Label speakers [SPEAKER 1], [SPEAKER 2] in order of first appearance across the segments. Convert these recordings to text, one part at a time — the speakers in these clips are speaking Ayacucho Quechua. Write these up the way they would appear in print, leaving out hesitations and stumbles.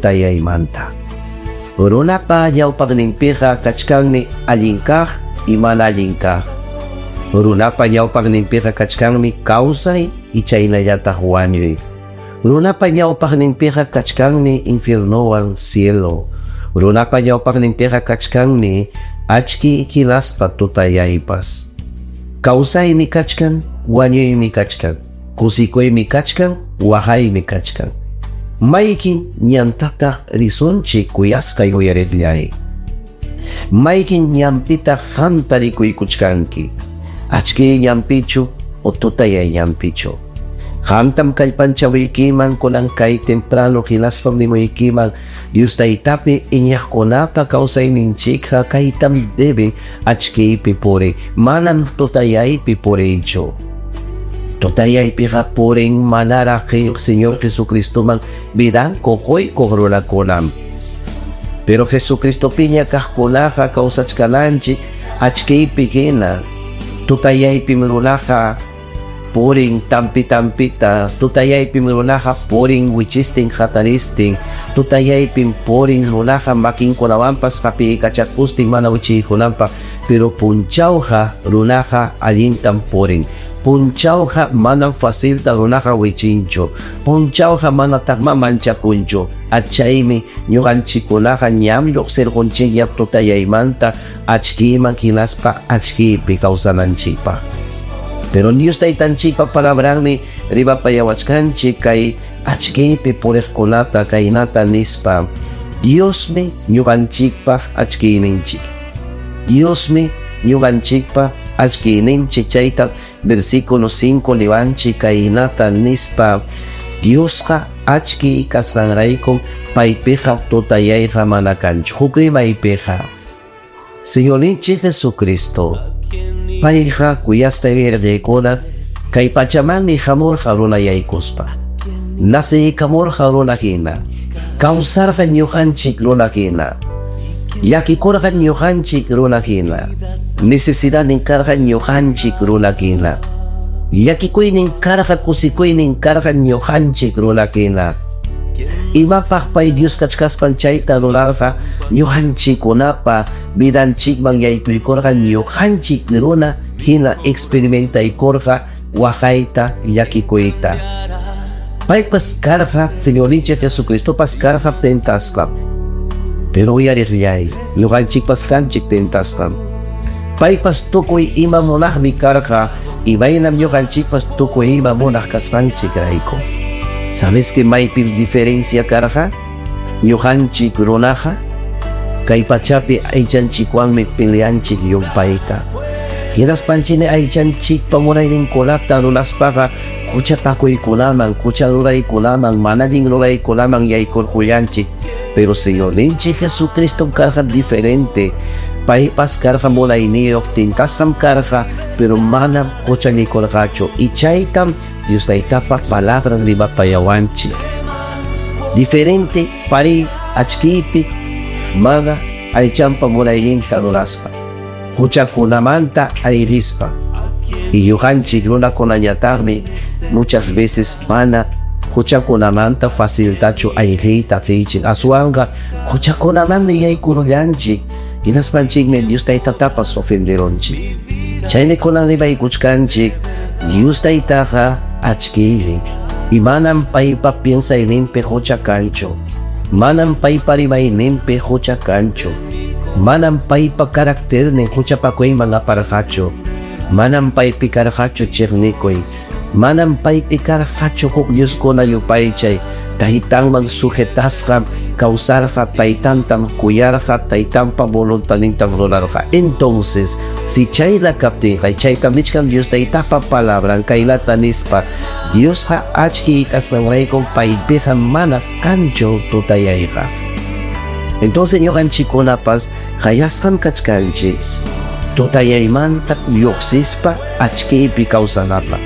[SPEAKER 1] tutayaymanta. Runapa ñawpaqninpiqa kachkanmi allin kaq y mana allin kaq. Runapa ñawpaqninpiqa kachkanmi kawsay y chaynallataq wañuy. Runapa ñawpaqninpiqa kachkanmi infiernowan cielo. Runapa ñawpaqninpiqa kachkanmi achki hinaspa tutayaypas. Kawsaymi kachkan, wañuymi kachkan. Kusikuymi kachkan, waqaymi kachkan. Mayqin ñantataq risunchik, kuyasqay uyariqllay? Mayqin ñanpitaq qamta rikuykuchkanki? Achkiy ñanpichu o tutayay ñanpichu? Qamtam kallpanchawaykiman kunan kay temprano hinaspam nimuykiman Dios Taytapi iñiqkunapa kawsayninchikqa kaytam debe achkiypi puriy, manam tutayaypi puriychu. Tutayaypiqa purin manaraq Señor Jesucristoman vidanku quykuq runakunam. Pero Jesucristopiña kaqkunaqa kawsachkananchik achkiypi hina. Tutayaypim runaqa purin tampi tampita, tutayaypim runaqa purin wichistin hataristin, tutayaypim purin runaqa makinkunawanpas hapiykachakustin mana wichiykunanpaq, pero punchawqa runaqa allintam purin. Punchawqa manam facilta runaqa wichinchu. Punchawqa manataqma manchakunchu. Achaymi ñuqanchikkunaqa ñam lluqsirqunchikña tutayaymanta achkiyman hinaspa achkiypi kawsananchikpaq. Pero Dios Taytanchikpa palabranmi rimapayawachkanchik kay achkiypi puriqkunata kaynata nispa: Diosmi ñuqanchikpaq achkiyninchik. Diosmi ñuqanchikpaq achkiyninchik. Chayta versículo 5 niwanchik kaynata nispa: Diosqa achkiy kasqanraykum paypiqa tutayayqa mana kanchu. Huk rimaypiqa Señorninchik Jesucristo, payqa kuyasqay uyariqniykuna kay pachamanmi hamurqa runayaykuspa. Naceykamurqa runa hina. Kawsarqa ñuqanchik runa hina. Llakikurqa ñuqanchik runa hina. Necesidadnin karqa ñuqanchik runa hina. Llakikuynin karqa, kusikuynin karqa ñuqanchik runa hina. Imapaq pay Dios kachkaspan chayta rurarqa? Ñuqanchikkunapa vidanchikman yaykuykurqa ñuqanchik runa hina experimentaykurqa waqayta, llakikuyta. Paypas karqa, Señorninchik Jesucristopas karqa tentasqam. Pero uyariqllay, ñuqanchikpas kanchik tentasqam. Paypas tukuy ima munaqmi karqa, imaynam ñuqanchikpas tukuy ima munaq kasqanchikrayku. ¿Sabes que maypim diferencia karqa? Ñuqanchik runaqa kay pachapi aychanchikwanmi peleanchik llumpayta. Hinaspanchikmi aychanchikpa munayninkunata ruraspaqa huchapakuykunaman, hucha ruraykunaman, mana allin ruraykunaman yaykurqullanchik. Pero Señorninchik Jesucristo karqa diferente. Paypas karqa munayniyuq, tentasqam karqa, pero manam huchallikurqachu. Y chaytam Dios Taytapa palabran rimapayawanchik. Diferente pariy achkiypi mana aychanpa munayninta ruraspa, huchakunamanta ayrispa. Y ñuqanchik runakunañataqmi muchas veces mana huchakunamanta faciltachu ayriyta atinchik. Aswanqa huchakunamanmi yaykurullanchik. Hinaspanchikmi Dios Taytatapas ofenderunchik. Chaymi kunan rimaykuchkanchik Dios Taytaqa achkiymi. Y manam paypa piensayninpi hucha kanchu. Manam paypa rimayninpi hucha kanchu. Manam paypa karakternin huchapakuyman aparqachu. Manam paypi karqachu chiqnikuy. Manam paypi karqachu huk dioskuna yupaychay. Taytanman sujetasqam kawsarqa, taytantam kuyarqa, taytanpa voluntadnintam rurarqa. Entonces, si chayla kaptinqa, chaytam nichkan Dios Taytapa palabran kaynata nispa: Diosqa achkiy kasqanraykum paypiqa mana kanchu tutayayqa. Entonces ñuqanchikkunapas qayasqam kachkanchik tutayaymanta lluqsispa achkiypi kawsanapaq.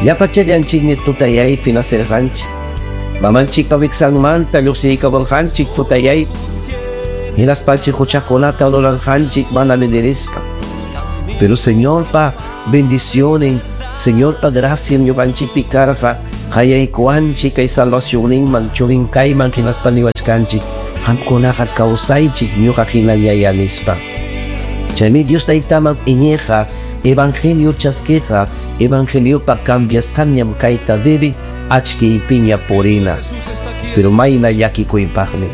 [SPEAKER 1] Llapachallanchikmi tutayaypi nacerqanchik. Mamanchikpa wiksanmanta lluqsiykamurqanchik tutayaypi. Hinaspanchik huchakunata rurarqanchik mana medirishpa. Pero Señorpa bendiciones, Señorpa gracia ñuqanchikpi karqa. Qayaykuwanchik kay salvacionninman, churin kayman hinaspa niwachkanchik, qamkunaqa kawsaychik ñuqa hinallayá nispa. Chaymi Dios Taytaman iñiqqa, evangelio chaskiqqa, evangeliopa cambiasqanñam kayta debe achkiypiña purina. Pero mayna llakikuypaqmi.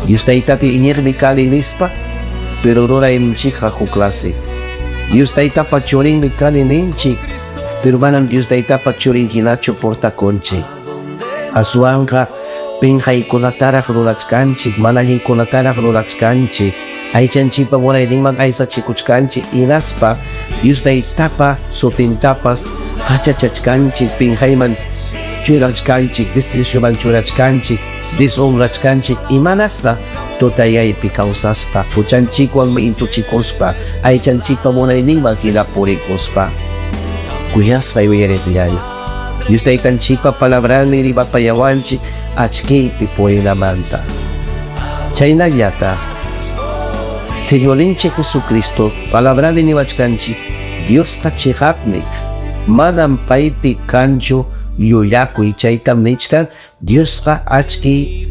[SPEAKER 1] Dios Taytapi iñiqmi kani nispa, pero rurayninchikqa huk clase. Dios Taytapa churinmi kani ninchik, pero manam Dios Taytapa churin hinachu portakunchik. Aswanqa pinqaykunataraq rurachkanchik, mana allinkunataraq rurachkanchik, aychanchikpa munayninman aysachikuchkanchik, hinaspa Dios Taytapa sutintapas hachachachkanchik, pinqayman churachkanchik, desprecioman churachkanchik, deshonrachkanchik, imanasqa tutayaypi kawsaspa, huchanchikwan intuchikuspa, aychanchikpa munayninman hina purikuspa. Kuyasqay uyariqllay, Dios Taytanchikpa palabranmi rimapayawanchik achkiypi purinamanta. Chaynallata Señorninchik Jesucristo palabranmi niwachkanchik, Diosqa chiqapmi, manam paypi kanchu llullakuy, chaytam nichkan Diosqa achkiy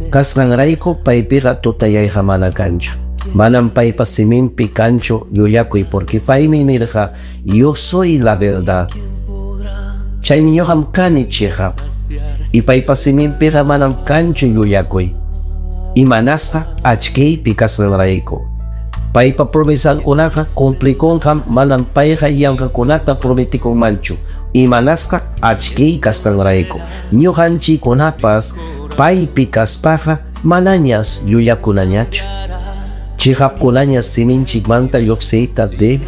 [SPEAKER 1] kasqanrayku paypiqa tutayayqa mana kanchu. Manam paypa siminpi kanchu llullakuy, porque paymi nirqa, yo soy la verdad. Chaymi ñuqam kani chiqap. Y paypa siminpiqa manam kanchu llullakuy. Imanasqa achkiypi kasqanrayku. Paypa promesankunaqa cumplikunqam, manam payqa yanqakunata prometikunmanchu. Imanasqa achkiy kasqanrayku. Ñuqanchikkunapas paypi kaspaqa manañas llullakunañachu. Chiqapkunañas siminchikmanta lluqsiyta debe.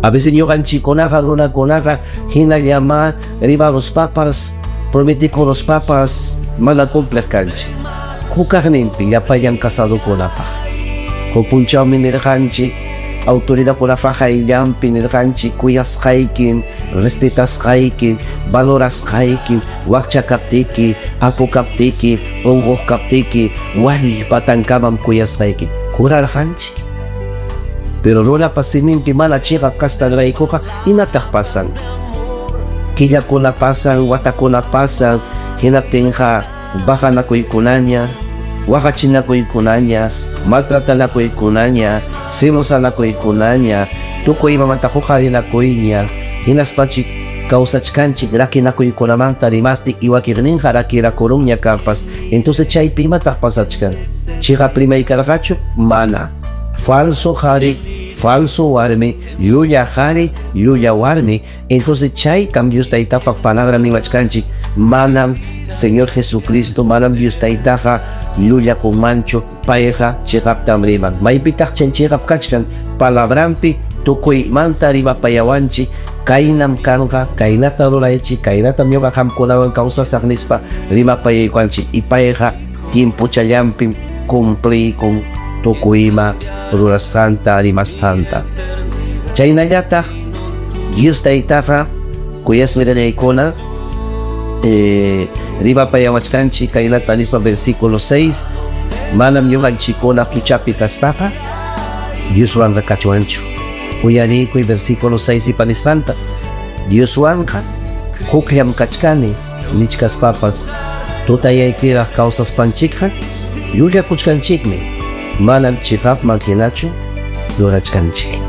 [SPEAKER 1] A veces ñuqanchikkunaqa runakunaqa hinallama rimaruspapas, prometikuruspapas mana cumpliq kanchik. Hukaqninpi llapallan casadokunapaq. Huk punchawmi nirqanchik, autoridadkunapa qayllanpi nirqanchik, kuyasqayki, respetasqayki, valorasqayki, wakcha kaptiki, apu kaptiki, unquq kaptiki, wañuy patankamam kuyasqayki. Jurarqanchik. Pero runapa siminpi mana chiqap kasqanraykuqa imataq pasan? Killakuna pasan, watakuna pasan, hinaptinqa bajanakuykunaña, waqachinakuykunaña, maltratanakuykunaña, celosanakuykunaña, tukuy imamanta huqarinakuyña, hinaspanchik kawsachkanchik rakinakuykunamanta rimastik iwakirninqa rakirakurunña kanpas. Entonces chaypi imataq pasachkan? Chiqap rimay karqachu? Mana. Falso qhari, falso warmi, llulla qhari, llulla warmi. Entonces chaytam Dios Taytapa palabra niwachkanchik, manam Señor Jesucristo, manam Dios Taytaqa llullakunmanchu, payqa chiqaptam riman. Maypitaq chay chiqap kachkan? Palabranpi tukuymanta rimapayawanchik, kaynam kanqa, kaynata ruraychik, kaynatam ñuqa qamkunawan kawsasaq nispa rimapayaykuwanchik. Y payqa tiempochallampim cumpliykun tukuy ima rurasqanta, rimasqanta. Chaynallataq Dios Taytaqa kuyasmi rinaykuna, rimapayawachkanchik kaynata nispa versículo 6, manam ñuqanchikkuna huchapi kaspaqa Dioswanqa kachuwanchu. Uyariykuy versículo 6 ipa nisqanta, Dioswanqa hukllam kachkani nichkaspapas tutayaykiraq kawsaspanchikqa llullakuchkanchikmi, manam chiqapman hinachu rurachkanchik.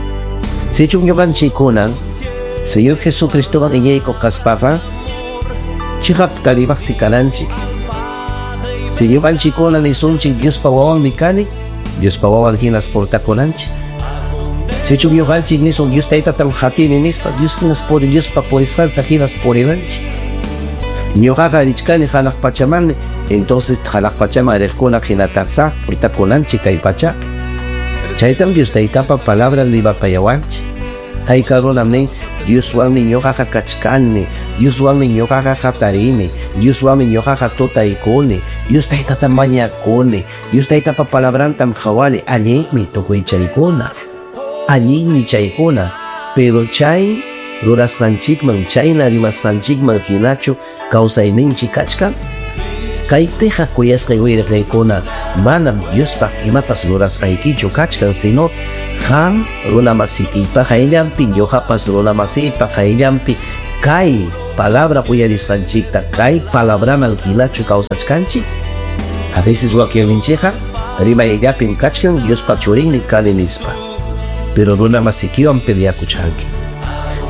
[SPEAKER 1] Sichum ñuqanchikkuna Señor Jesucristowan iñiykuq kaspaqa chiqap karimaqsi kananchik. Si ñuqanchikkuna nisunchik Diospa wawanmi kani, Diospa wawan hinas portakunanchik. Sichum ñuqanchik nisun Dios Taytatam qatini nispa, Dios hinas puri, Diospa purisqanta hinas purinanchik. Ñuqaqa richkani hanaq pachamanmi, entonces hanaq pachaman riqkuna hinataqsa portakunanchik kay pachapi. Chaytam Dios Taytapa palabra rimapayawanchik. Hayka runam nin, Dioswanmi ñuqaqa kachkani, Dioswanmi ñuqaqa hatarini, Dioswanmi ñuqaqa tutaykuni, Dios Taytatam mañakuni, Dios Taytapa palabrantam qhawani, allinmi tukuy chaykuna, allinmi chaykuna, pero chay rurasqanchikman, chayna rimasqanchikman hinachu kawsayninchik kachkan. Kaypiqa kuyasqay uyariqlaykuna, manam Diospaq imapas rurasqaykichu kachkan, sino qam runamasikiypa qayllanpi, ñuqapas runamasiypa qayllanpi Kay palabra uyarisqanchikta, kay palabraman hinachu kawsachkanchik? A veces wakinninchikqa rimayllapim kachkan Diospa churinmi kani nispa. Pero runa masikiwan peleakuchkanki.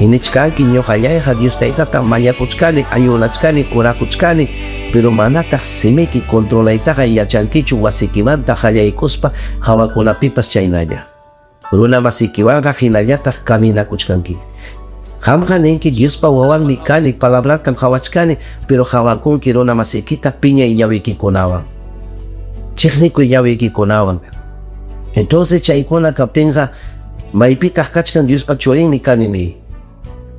[SPEAKER 1] Nichkanki ñuqallayqa Dios Taytata mañakuchkani, ayunachkani, orakuchkani, pero manataq simiki controlaytaqa yachankichu wasikimanta qallaykuspa hawakunapipas chaynalla. Runa masikiwanqa hinallataq caminakuchkanki. Qamqa ninki Diospa wawanmi kani, palabratam qawachkani, pero qawakunki runa masikita piñay ñawikikunawan. Chiqnikuy ñawikikunawan. Entonces chaykuna kaptinqa maypitaq kachkan Diospa churinmi kani ni.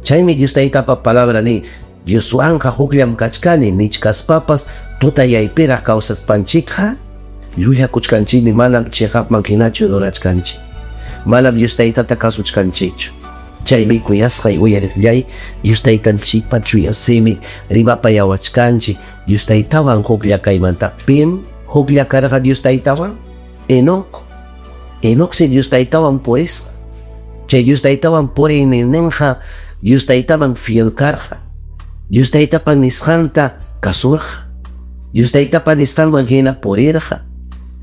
[SPEAKER 1] Chaymi Dios Taytapa palabra ni, Dioswanqa hukllam kachkani nichkaspapas tutayaypiraq kawsaspanchikqa llullakuchkanchikmi, manam chiqapman hinachu rurachkanchik. Manam Dios Taytata kasuchkanchikchu. Chaymi kuyasqay uyariqllay Dios Taytanchikpa chuya simi rimapayawachkanchik Dios Taytawan huklla kaymanta. Pim huklla karqa Dios Taytawan? Enoc. Enoc si Dios Taytawan purisqa. Chay Dios Taytawan puriyninqa Dios Taytaman fiel karqa. Dios Taytapa nisqanta kasurqa. Dios Taytapa nisqanman hina purirqa.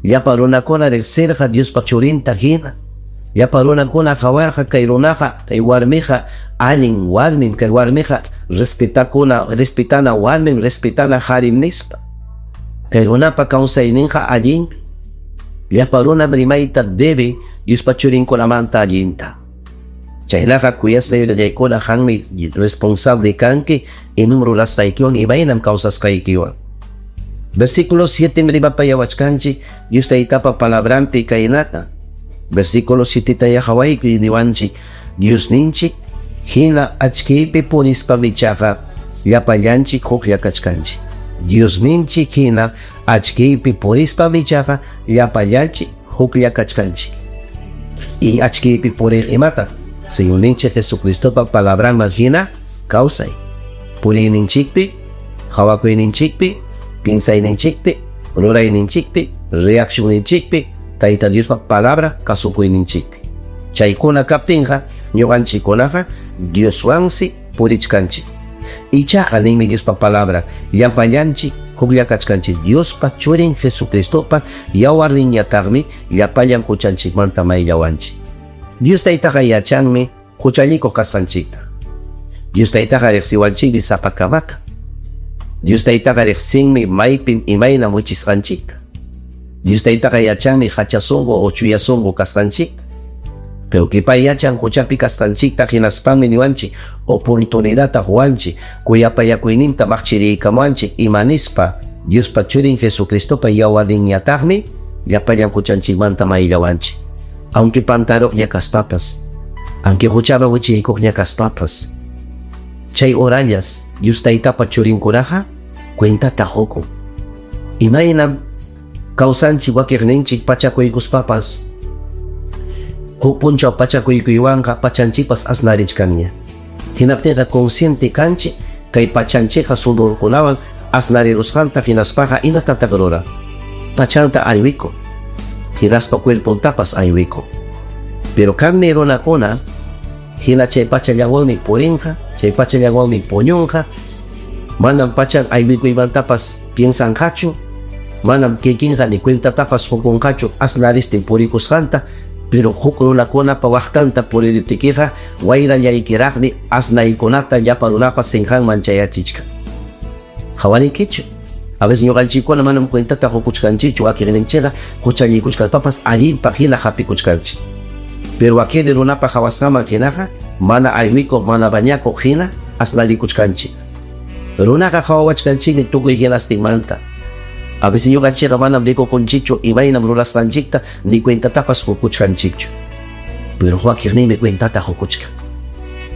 [SPEAKER 1] Llapa runakuna riqsirqa Diospa churinta hina. Llapa runakuna qawarqa kay runaqa, kay warmiqa allin warmim, kay warmiqa respetakuna, respetana warmim, respetana qarim nispa. Kay runapa kawsayninqa allin. Llapa runam rimayta debe Diospa churinkunamanta allinta. Chaynaqa kuyasqay yuyaykuna qanmi responsable kanki imam rurasqaykiwan imaynam kawsasqaykiwan. Versículo 7 rimapayawachkanchik Dios Taytapa palabranpi kaynata. Versículo 7 taya qawaykuy niwanchik Diosninchik hina achkiypi purispa michaqa llapallanchik huklla kachkanchik. Diosninchik hina achkiypi purispa michaqa llapallanchik huklla kachkanchik. Y achkiypi purir imata? Señorninchik Jesucristopa palabranman hina kawsay. Puriyninchikpi, qhawakuyninchikpi, piensayninchikpi, rurayninchikpi, reaccionninchikpi, Tayta Diospa palabra kasukuyninchikpi. Chaykuna kaptinqa ñuqanchikkunaqa Dioswansi purichkanchik. Ichaqa ninmi Diospa palabra, llapallanchik huklla kachkanchik. Diospa churin Jesucristopa yawarninñataqmi llapallan huchanchikmanta mayllawanchik. Dios Taytaqa yachanmi huchallikuq kasqanchikta. Dios Taytaqa riqsiwanchikmi sapakamata. Dios Taytaqa riqsinmi maypim imaynam wichisqanchikta. Dios Taytaqa yachanmi hacha sunqu o chuya sunqu kasqanchikta. Pero que pay yachan huchapi kasqanchikta hinaspanmi niwanchik oportunidadta quwanchik kuyapayakuyninta maqchiriykamuwanchik imanispa Diospa churin Jesucristopa yawarninñataqmi llapallan huchanchikmanta mayllawanchik. Aunque pantaruqña kaspapas, aunque huchaman wichiykuqña kaspapas, chay horallas Dios Taytapa churinkunaqa cuentata qukun. Imaynam kawsanchik wakiqninchik pachakuykuspapas huk punchaw pachakuykuywanqa pachanchikpas asnarichkanña. Hinaptinqa consciente kanchik kay pachanchikqa sudorkunawan asnarirusqanta hinaspaqa imatataq ruran? Pachanta aywikun. Hinaspa cuerpontapas aywikun. Pero kanmi runakuna hina chay pachallawanmi purinqa, chay pachallawanmi puñunqa, manam pachan aywikuymantapas piensanqachu, manam kikinqa ni cuentatapas qukunqachu asnaristin purikusqanta, pero huk runakunapa waqtanta puririptikiqa wayrallaykiraqmi asnaykunata llapa runapa sinqanman chayachichkan. Qhawarinkichu? A veces ñuqanchikkuna manam cuentata qukuchkanchikchu wakiqninchikqa huchallikuchkaspapas allinpaq hina hapikuchkanchik. Pero wakin runapa qhawasqanman hinaqa mana aywikuq mana bañakuq hina asnallikuchkanchik. Runaqa qhawawachkanchikmi tukuy hinastinmanta. A veces ñuqanchikqa manam rikukunchikchu imaynam rurasqanchikta ni cuentatapas qukuchkanchikchu. Pero wakiqninmi cuentata qukuchkan.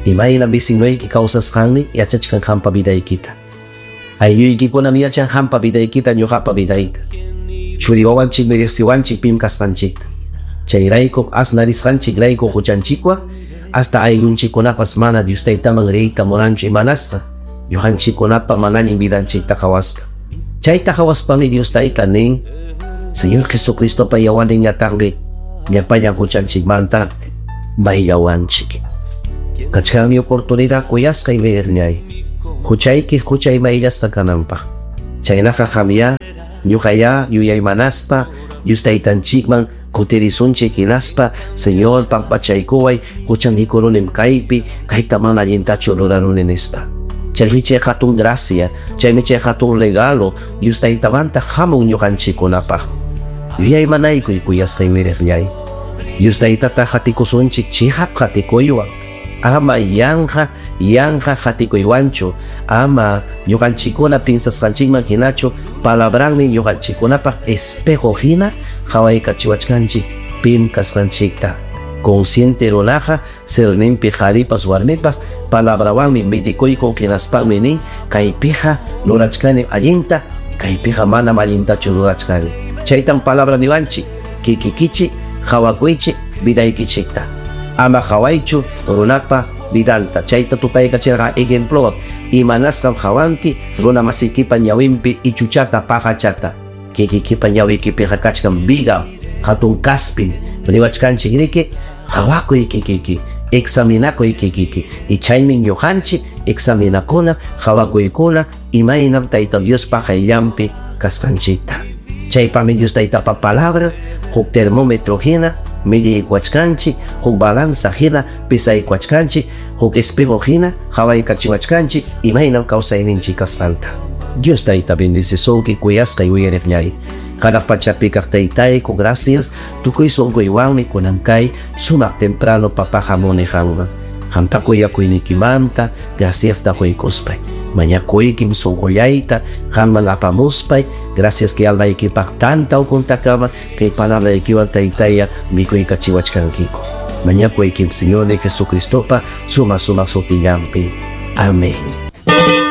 [SPEAKER 1] Imaynam vecinoyki kawsasqanmi yachachkan qampa vidaykita. Aylluykikunam yachan qampa vidaykita ñuqapa vidayta. Churi wawanchikmi riqsiwanchik pim kasqanchikta. Chayraykum asnarisqanchikrayku huchanchikwan hasta ayllunchikkunapas mana Dios Taytaman riyta munanchu imanasqa ñuqanchikkunapa mana allin vidanchikta qhawasqa. Chayta qhawaspami Dios Tayta nin, Señor Jesucristopa yawarninñataqmi llapallan huchanchikmanta mayllawanchik. Kachkanmi oportunidad kuyasqay uyariqniyay, huchayki huchay mayllasqa kananpaq. Chaynaqa qamyá, ñuqayá yuyaymanaspa Dios Taytanchikman kutirisunchik hinaspa Señor pampachaykuway huchallikuruni kaypi, kayta mana allintachu ruraruni nispa. Chaymi chay hatun gracia, chaymi chay hatun regalo Dios Taytamanta hamun ñuqanchikkunapaq. Yuyaymanaykuy kuyasqay uyariqllay. Dios Taytata qatikusunchik chiqap qatikuywan, ama yanqa yanqa qatikuywanchu, ama ñuqanchikkuna piensasqanchikman hinachu, palabranmi ñuqanchikkunapaq espejo hina qawaykachiwachkanchik pim kasqanchikta. Consciente runaqa serninpi qaripas warmipas palabrawanmi midikuykun hinaspanmi nin kaypiqa rurachkani allinta, kaypiqa manam allintachu rurachkani. Chaytam palabra niwanchik, kikikichik qawakuychik vidaykichikta. Ama qawaychu runapa vidanta. Chayta tupaykachirqa ejemplowan, imanasqam qawanki runa masiykipa ñawinpi ichuchata paqachata. Kikikipa ñawikipiqa kachkan viga, hatun kaspin. Niwachkanchik riki, qawakuy kikiki, examinakuy kikiki. Y chaymi ñuqanchik examinakuna, qawakuykuna imaynam Tayta Diospa qayllanpi kasqanchikta. Chaypami Dios Taytapa palabra huk termómetro hina midiykuwachkanchik, huk balanza hina pesaykuwachkanchik, huk espejo hina qawaykachiwachkanchik imaynam kawsayninchik kasqanta. Dios Tayta bendecisunki kuyasqay uyariqllay. Hanaq pachapi kaq Taytayku, gracias tukuy sunquywanmi kunan kay sumaq temprano papa hamuni qanman. Qamta kuyakuyniykimanta graciasta quykuspay. Mañakuykim sunqullayta qanman apamuspay, gracias que almaykipaq tanta ukuntakama kay palabraykiwan Taytaya mikuykachiwachkankiku. Mañakuykim Señor Jesucristopa suma suma sutillanpi. Amén.